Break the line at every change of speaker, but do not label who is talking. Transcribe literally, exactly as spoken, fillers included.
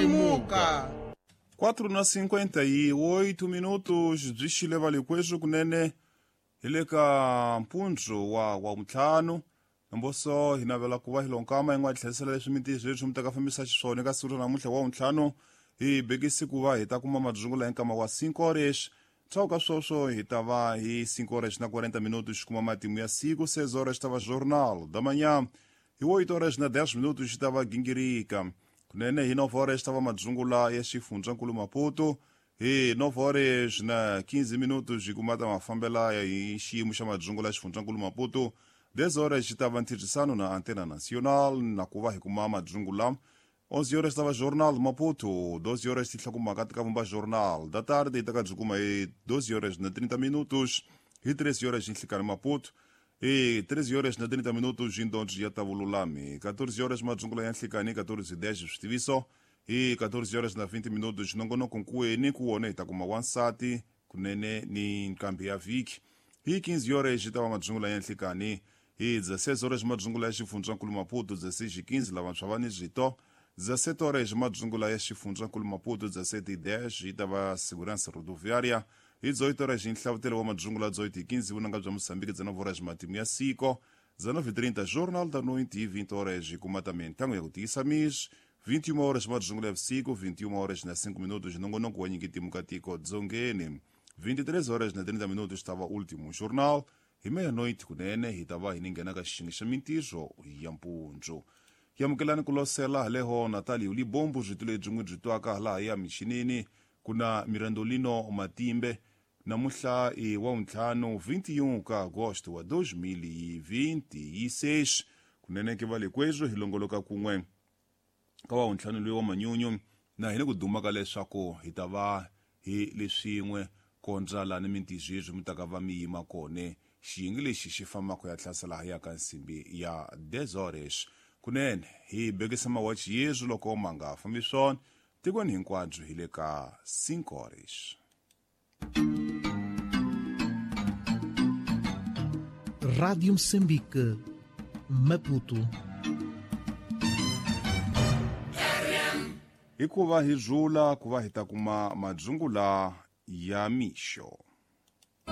Lemuka.
quatro na cinquenta e oito minutos byi xile valikweswi kunene hi le ka mpundzu wa wa ntlhanu namboso hi navela ku va hi lonkama yin'wana tlherisela leswi mintirho leswi mi ta ka fambisa xiswona eka siku ra namuntlha wa ntlhanu hi bekisi ku va hi ta kuma madzungula hi nkama wa cinco horas ndzhaku ka sweswo hi ta va hi cinco horas na quarenta minutos xi kuma matimu ya siku seis horas ta va jornal da manhã hi oito horas na dez minutos xi ta va gingirika kunene hi nove horas ta va madzungula ya xifundzankulu Maputo hi nove horas na quinze minutos hi kuma ta mafambela ya hi xiyimo xa madzungula ya xifundzankulu Maputo dez horas xi ta va ntirhisano na Antena Nacional na ku va hi kuma madzungula onze horas ta va Jornal Maputo doze horas ti tlhakumaka ti ka vumba Jornal da tarde hi ta ka byi kuma hi doze horas na trinta minutos hi treze horas nhlikani Maputo hi treze horas na trinta minutos hi ndondzo ya ta vululami quatorze horas madzungula ya nhlikani quatorze e dez switiviso hi quatorze horas na vinte minutos nongonoko nkuweni ku wona hi ta kuma wansati kunene ni nkambi ya vhiki hi quinze horas hi ta va madzungula ya nhlikani hi dezesseis horas madzungula ya xifundzankulu Maputo dezesseis e quinze lavantshwa va ni zwito dezessete horas madzungula ya xifundzankulu Maputo dezessete e dez hi ta va segurança rodoviária hi dezoito horas nhlavutelo wa madzungula dezoito e quinze vunanga bya Moçambique dezenove horas matimu ya siko dezenove e trinta Jornal da Noite e vinte horas hi kuma ta mintango ya ku tiyisa misi vinte e uma horas madzungula ya vusiku vinte e uma horas na cinco minutos nongonoko wa nyiketimu ka tiko dzongeni vinte e três horas na trinta minutos ta va último jornal hi meia-noite kunene hi ta va hi ni nghena ka xixingi xa mintirho ya mpundzu yamukelani ku losela haleho Natalio Libombo byi lebyi n'wi byi twaka laha ya michinini ku na Mirandolino Matimbe namuhla i wa ntlhanu vinte e um ka agosto wa dois mil e vinte e seis kunene ke va le kwezwo hi longoloka kun'we ka wa ntlhanu loyi wa manyunyu na hi le ku duma ka leswaku hi ta va hi leswin'we kondza lani mintirho yeswi mi ta ka va mi yima kone xiyenge lexi xi fambaka ya hlasela ya ka nsimbi ya dez horas kunene hi bekisa mawachi yeswi loko ma nga fambi swona tikweni hinkwabyo hi le ka cinco horas.
Rádio Moçambique, Maputo.
Hikuva hi dzula ku va hi ta kuma madzungula ya mixo.